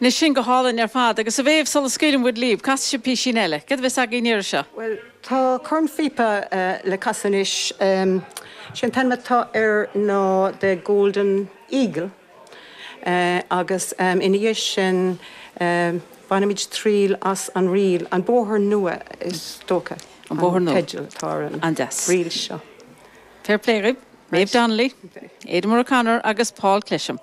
Anois sin go hálainn ar fad agus a Mhéabh, sula scaoileann muid libh, casfaidh sibh písín eile. Céard a bheas againn an iarraidh seo? Bhuel, tá cornphíopa le casadh anois. Sé an t-ainm atá air ná The Golden Eagle agus ina dhiaidh sin bainfimid triail as an ríl, An Bóthar Nua is dócha An Bóthar an Nua. teideal atá ar an An-deas. ríl seo. Fair play dhaoibh. Méabh Donnelly, Ada O'Connor agus Paul Clesham.